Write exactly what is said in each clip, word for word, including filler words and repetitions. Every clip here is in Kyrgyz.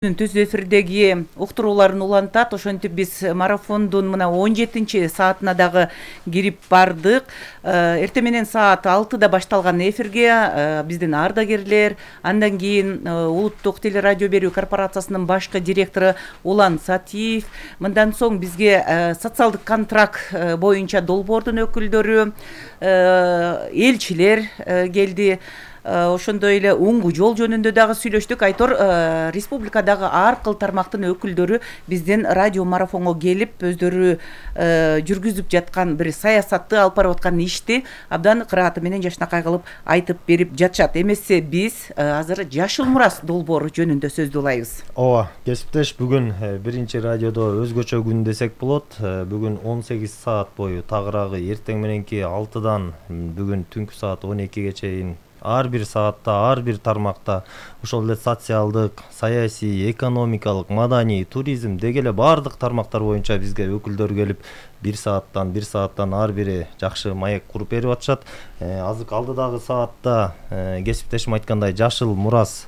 Түз эфирдеги уктурууларын улантат. Ошентип биз марафондун мына он жетинчи саатына дагы кирип бардык. Эртең менен саат алтыда башталган эфирге биздин ардагерлер, андан кийин Улуттук телерадио берүү корпорациясынын башкы директору Улан Сатиев, мындан соң бизге социалдык контракт боюнча долбоордун өкүлдөрү, элчилер келди. Ошондой эле уңгу жол жөнүндө дагы сүйлөштүк. Айтор республикадагы ар кыл тармактын өкүлдөрү биздин радио марафонго келип, өздөрү жүргүзүп жаткан бир саясатты, алып барып аткан ишти абдан кырааты менен жашынакай кылып айтып берип жатышат. Эмесе биз азыр Жашыл Мурас долбоору жөнүндө сөздү улайбыз. Ооба, кесиптеш, бүгүн биринчи радиодо өзгөчө күн десек болот. Бүгүн он сегиз саат бою, тагыраагы эртең мененки алтыдан бүгүн түнкү саат он экиге чейин ар бир саатта, ар бир тармакта, ошол эле социалдык, саясий, экономикалык, маданий, туризм деги эле баардык тармактар боюнча бизге өкүлдөр келип, бир сааттан, бир сааттан ар бири жакшы маек куруп берип атышат. Азыр алдыдагы саатта кесиптешим айткандай Жашыл Мурас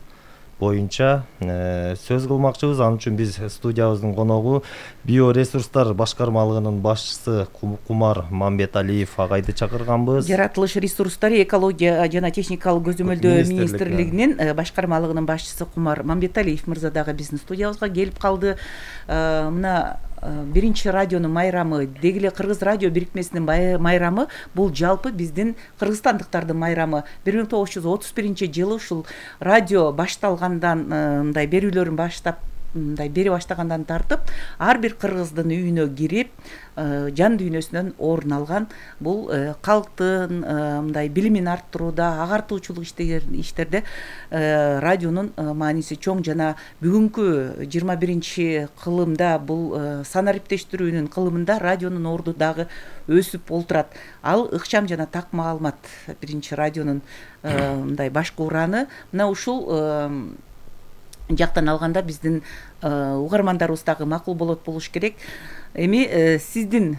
боюнча сөз кылмакчыбыз. Ал үчүн биз студиябыздын коногу биоресурстар башкармалыгынын башчысы Кумар Мамбеталиев агайды чакырганбыз. Жаратылыш ресурстары, экология жана техникалык көзөмөлдөө министрлигинин башкармалыгынын башчысы Кумар Мамбеталиев мырза дагы биздин студиябызга келип калды. Мына биринчи радионун майрамы, деги эле Кыргыз радио бирикмесинин майрамы, бул жалпы биздин кыргызстандыктардын майрамы. бир миң тогуз жүз отуз биринчи жылы ушул радио башталгандан, мындай берүүлөрүн баштап, мындай бере баштагандан тартып, ар бир кыргыздын үйүнө кирип, жан дүйнөсүнөн орун алган. Бул калктын мындай билимин арттырууда, агартуучулук иштерде радионун мааниси чоң. Жана бүгүнкү жыйырма биринчи кылымда, бул санариптештирүүнүн кылымында радионун орду дагы өсүп олтурат. Ал ыкчам жана так маалымат биринчи радионун мындай башкы ураны. Мына ушул жактан алганда биздин угармандарыбыз дагы макул болот болуш керек. Эми сиздин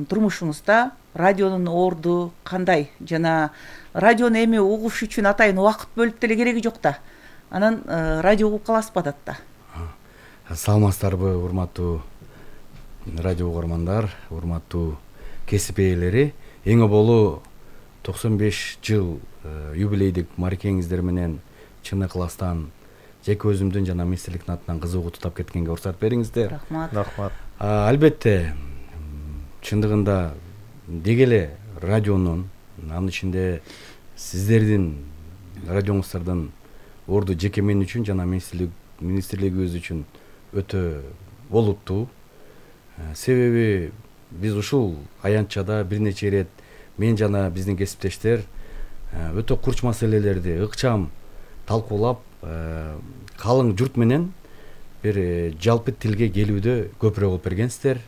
турмушуңузда радионун орду кандай, жана радиону эми угуш үчүн атайын убакыт бөлүп деле кереги жок да. Анан радио угуп каласызбы адатта? Саламатсыздарбы, урматтуу радио угармандар, урматтуу кесип ээлери. Эң оболу токсон беш жыл юбилейдик марекеңиздер менен чын ыкластан жеке өзүмдүн жана министрликтин атынан кызыгуу тутап кеткенге уруксат бериңиздер. Рахмат. Рахмат. Албетте, чындыгында деги эле радионун, анын ичинде сиздердин радионуңуздардын орду жеке мен үчүн жана министрлигибиз үчүн өтө олуттуу. Себеби биз ушул аянтчада бир нече ирет мен жана биздин кесиптештер өтө курч маселелерди ыкчам талкуулап, калың журт менен бир жалпы тилге келүүдө көпүрөөк болуп бергенсиздер.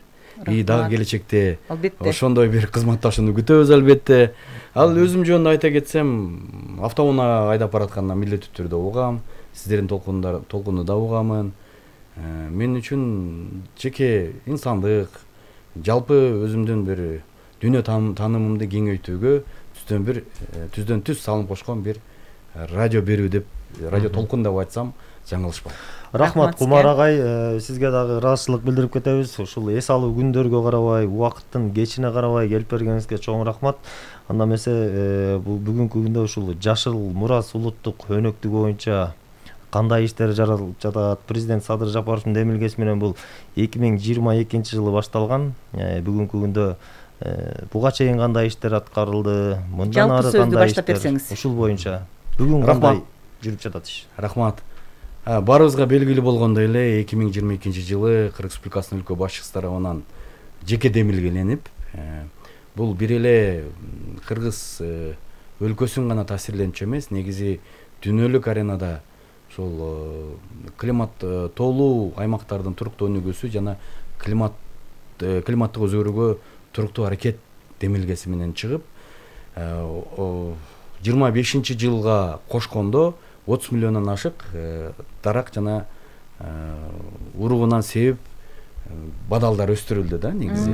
И дагы келечекте ошондой бир кызматташууну күтөбүз албетте. Ал өзүм жөнүндө айта кетсем, автоунаа айдап баратканда милдеттүү түрдө угам, сиздердин толкунду да угамын. Мен үчүн жеке инсандык, жалпы өзүмдүн бир дүйнө таанымымды кеңейтүүгө түздөн бир түздөн түз салым кошкон бир радио берүү деп, радио толкун деп айтсам жаңылышпайм. Рахмат Кумар агай, сизге дагы ыраазычылык билдирип кетебиз. Ушул эс алуу күндөргө карабай, убакыттын кечине карабай келип бергениңизге чоң рахмат. Анда эмесе бул бүгүнкү күндө ушул Жашыл Мурас улуттук өнөктүгү боюнча кандай иштер жаралып жатат? Президент Садыр Жапаровдун демилгеси менен бул эки миң жыйырма экинчи жылы башталган. Бүгүнкү күндө буга чейин кандай иштер аткарылды? Мындан ары кандай иштер? Ушул боюнча бүгүн кандай жүрүп жатат иш? Рахмат. Баарыбызга белгилүү болгондой эле эки миң жыйырма экинчи жылы Кыргыз Республикасынын өлкө башчысы тарабынан жеке демилгеленип, бул бир эле Кыргыз өлкөсүн гана таасирлентчү эмес, негизи дүйнөлүк аренада ошол климат тоолуу аймактардын туруктуу өнүгүүсү жана климат климаттык өзгөрүүгө туруктуу аракет демилгеси менен чыгып, жыйырма бешинчи жылга кошкондо отуз миллиондон ашык дарак жана уругунан себеп бадалдар өстүрүлдү да негизи.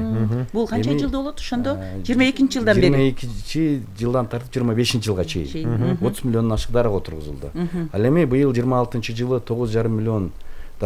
Бул канча жылда болот ошондо? жыйырма экинчи жылдан бери. жыйырма экинчи жылдан тартып жыйырма бешинчи жылга чейин отуз миллиондон ашык дарак отургузулду. Ал эми быйыл жыйырма алтынчы жылы тогуз жарым миллион